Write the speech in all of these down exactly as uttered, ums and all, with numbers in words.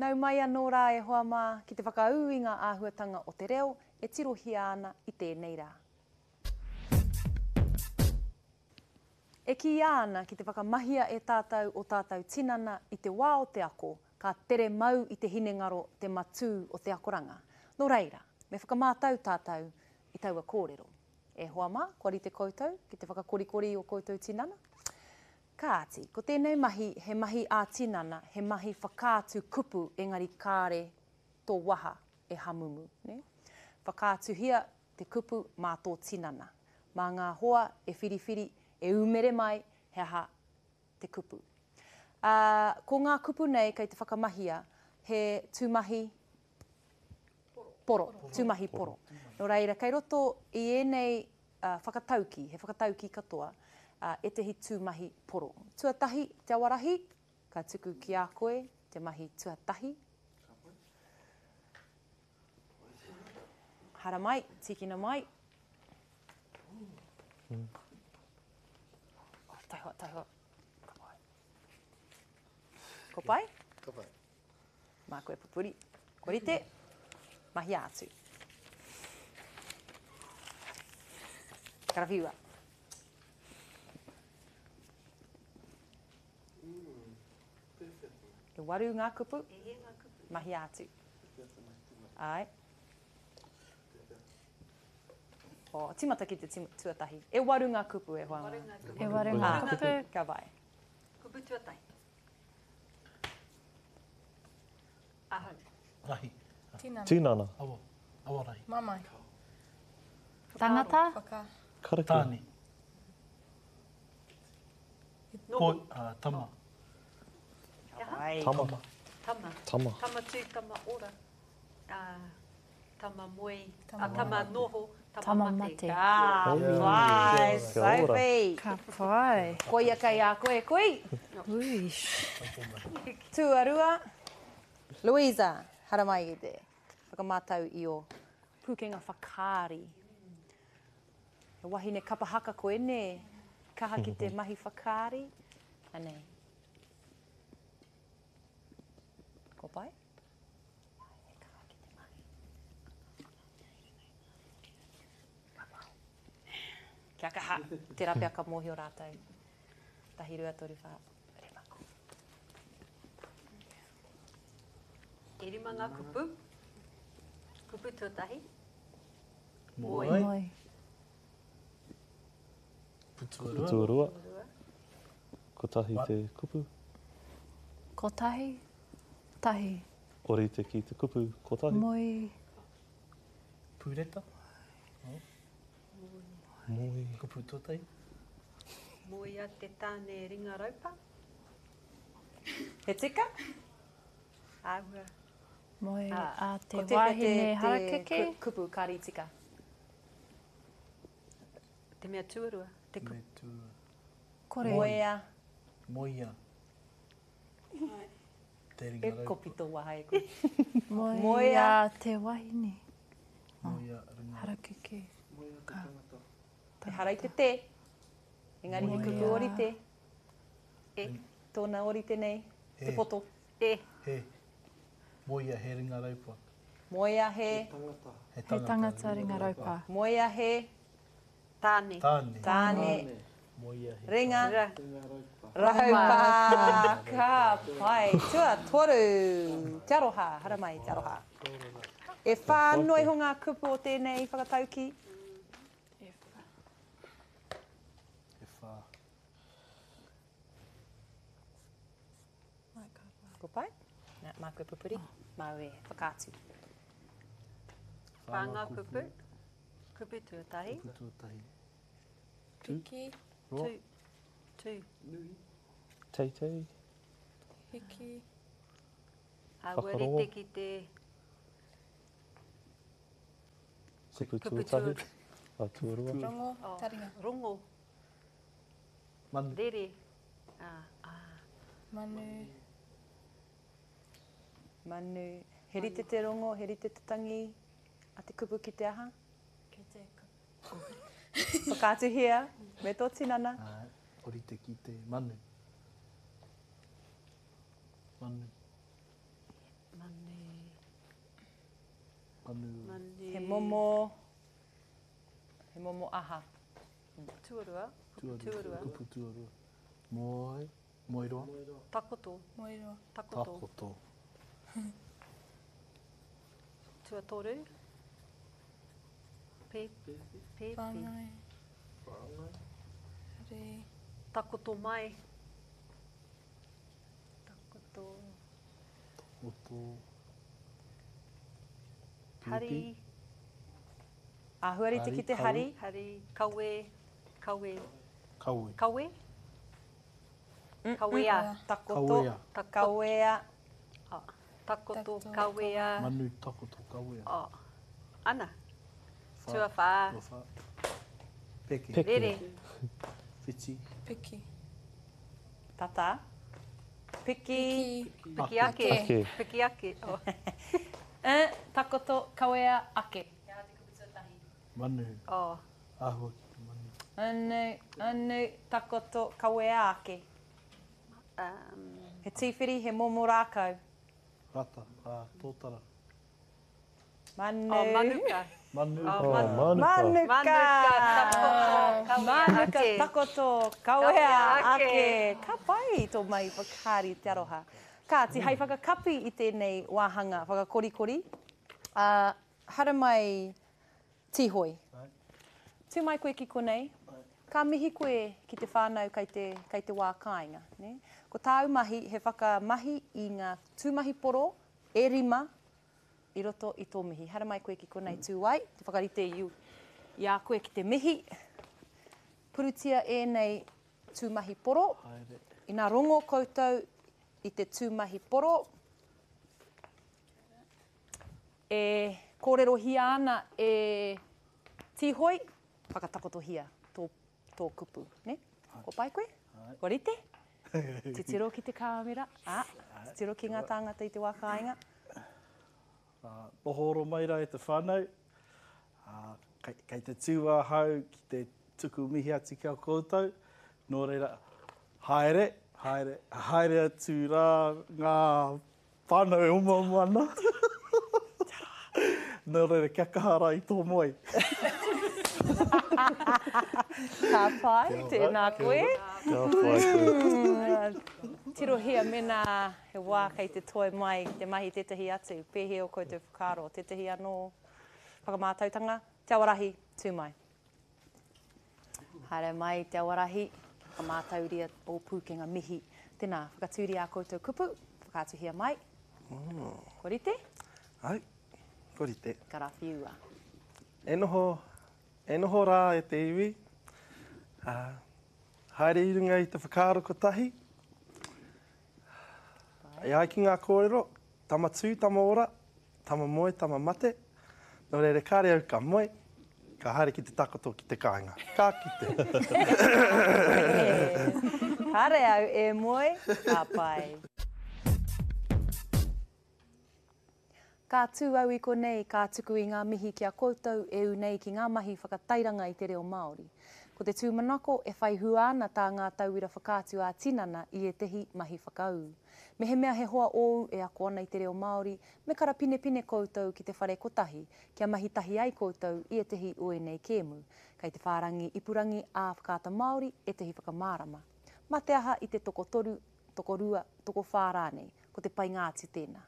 Nau mai anō rā e hoa mā ki te whakaū i ngā āhuatanga o te reo e tirohia ana i tēnei rā. E kīia ana ki te whakamahia e tātou o tātou tinana i te wā o te ako, ka tere mau i te hinengaro te matū o te akoranga. Nō reira, me whakamātau tātou i taua kōrero. E hoa mā, kua rite koutou ki te whakakorikori i o koutou tinana? Kāti, ko tēnei mahi, he mahi ā-tinana, he mahi whakaatu kupu engari kāre tō waha e hamumu. Ne? Whakaatuhia te kupu mā tō tinana. Mā ngā hoa e whiriwhiri, e umere mai, he aha te kupu. Uh, ko ngā kupu nei kei te whakamahia, he tūmahi poro, tūmahi poro. Nō reira, kei roto i ēnei uh, whakatauki, he whakatauki katoa, uh, ētehi tūmahi poro. Tuatahi, te awarahi, ka tuku ki a koe te mahi tuatahi. Haramai, tīkina mai. Mm. Oh, taihoa, taihoa. Ka pai. Ko pai? Ka pai. Mā koe pupuri. Ko rite, mahia atu. Karawhiua. E waru ngā kupu, mahia atu. Ai. Oh, timata ki te tuatahi. E waru ngā kupu e hoa mā. E waru ngā kupu. Ka pai. Kupu tuatahi. Ahau. Rahi. Tinana. Tinana. Awa. Awa rahi. Mamae. Tangata. Whaka. Karakia. Tāne. Koi, uh, tama. Tama. Tama. Tama. Tama tū, tama ora. Uh, tama moe. Tama, uh, tama noho. Tama, tama mate. mate. Ka pai, Sophie. Ka pai. Koia kei a koe, kui. Ui. Tuarua, Louisa, haramai i te whakamātau i o pūkenga whakaari. He wahine kapa haka koe, nē? Kaha ki te mahi whakaari. Anei. Ko pai? He kaha ki te mahi. Kia kaha. Tērā pea ka mōhio rātou. Tahi, rua, toru, whā, rima. E rima ngā kupu. Kupu tuatahi. Moe. Moe. Kupu tuarua. Kotahi te kupu. Kotahi. Tahi. Orite ki te kupu kotahi. Moi. Pūreta. Moi. Kupu tuatahi. Moea te tāne ringa raupa. He tika? Āhua. Moe a te Ko tēwhea wahine te, harakeke. te kupu kāri tika? Te mea tuarua. Te kupu. Me tuarua. Kore. Moea. Moea. Te ringa E raupa. kopi tō waha e koe. Moea Moea te wahine. Moea ringa. Harakeke. Moea te tangata. Ehara i te te. Engari he kupu Moea. orite. E. Tōna orite nei. He. Te poto. E. He. Moea he ringa raupa. Moea he. He He tangata ringa raupa. Moea he. Tāne. Tāne. Tāne. Moea he. Ringa. Ra. Raupa. Ka pai. Tuatoru. Te aroha. Haramai, te aroha. E whā noa iho ngā kupu o tēnei whakatauki. E whā. E whā. Ko pai? Nā, māku e pupuri. Māu e whakaatu. Whā ngā kupu. Kupu tuatahi. Kupu tuatahi. Piki. Roa. Tu. Tu. Teitei. Hiki. Āhua Whakarongo. rite ki te Kupu Kupu tuatahi. A tuarua. Rongo. Oh. Taringa. rongo. Manu. Rere. Ah, ah. Manu. Manu. He rite te rongo, he rite te tangi. A te kupu ki te aha? Ki te kupu. Whakaatuhia me tō tinana. Ai, orite ki te manu. Manu. Manu. Manu. Manu. He momo, he momo aha. Tuarua. Kupu Tuarua. tuarua. Kupu tuarua. Moe. Moeroa. Takoto. Moeroa. Takoto. Takoto. Tuatoru. Pe, pepi. Whāngai. Re. Takoto mai. Takoto. Takoto. Hari. Āhua rite ki te Hari, hari. Hari. Kawe. Kawe. Kawe. Kawe? Kawea. Takoto. Kawea. Takoto. Kawea. Ah, Takoto. Takoto, Kawea. Manu takoto kawea. Oh. Ana. Whā. Tuawhā. Tuawhā. Peke. Peke. Rere. Whiti. Piki. Tata. Piki. Piki. Piki ake. Ake. Piki ake. Oh. Eh, takoto, kawea, ake. Manu. Oh. Āhua ki te manu. Anu, anu, takoto, kawea ake. Um, He tīwhiri, he momo rākau. Rata. Ah, tōtara. Manu. oh, manuka. Manu. Oh, Oh, manu. manuka. Manuka. Manuka, takoto, kawea Manuka, ake. takoto, kawea Kawea ake. ake. Ka pai tō mai whakaari te aroha. Kāti, hei whakakapi i tēnei wāhanga whakakorikori. Uh, haramai Tihoi. Ai. Tū mai koe ki konei. Ka mihi koe ki te whānau kei te, kei te wā kāinga. Ne? Ko tāu mahi, he whakamahi i ngā tūmahi poro e rima i roto i tō mihi. Haramai koe ki konei tū ai, te whakarite i, i a koe ki te mihi. Purutia ēnei tūmahi poro. Haere. Ina rongo koutou i te tūmahi poro, e kōrerohia ana e Tihoi, whakatakotohia tō, tō kupu. Ne? Ko pai koe? Ko rite? Titiro ki te kāmera, a, titiro ki ngā tāngata i te wā kāinga. Uh, noho oro mai rā e te whānau. Uh, kei, kei te tū ahau ki te tuku mihi atu ki a koutou. Nō reira, haere, haere, haere atu rā ngā whānau e omaoma ana. Nō reira, kia kaha rā i tō moe. Ka pai, tēnā koe. Ka pai koe. Tirohia mena he wā kei te toi mai te mahi tētahi atu, pēhea o koutou whakaaro, tētahi anō whakamātautanga, Te Awarahi, tū mai. Haere mai Te Awarahi, whakamātauria o pūkenga mihi. Tēnā, whakatūria a koutou kupu, whakaatuhia mai. Ko rite? Ai, ko rite. Karawhiua. E noho, e noho rā e te iwi. Uh, haere i runga i te whakaaro kotahi. E ai ki ngā kōrero, tama tū, tama ora, tama moe, tama mate. Nō reira, kāre au ka moe, ka haere ki te takoto ki te kāinga. Ka kite. Kāre au e moe, ka pai. Ka tū au i konei, ka tuku i ngā mihi ki a koutou e ū nei ki ngā mahi whakatairanga i te reo Māori. Ko te tūmanako e whai hua ana tā ngā tauira whakaatu ā tinana i ētehi mahi whakaū. Mehemea he hoa ōu e ako ana i te reo Māori, me karapinepine koutou ki te whare kotahi, kia mahi tahi ai koutou i ētehi o ēnei kēmu. Kei te whārangi ipurangi ā Whakaata Māori ētehi whakamārama. Mā te aha i te tokotoru, tokorua, tokowhā rānei, ko te painga atu tēnā.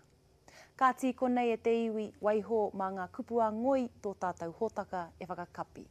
Ka tī konei e te iwi, waiho mā ngā kupu a ngoi tō tātou hōtaka e whakakapi.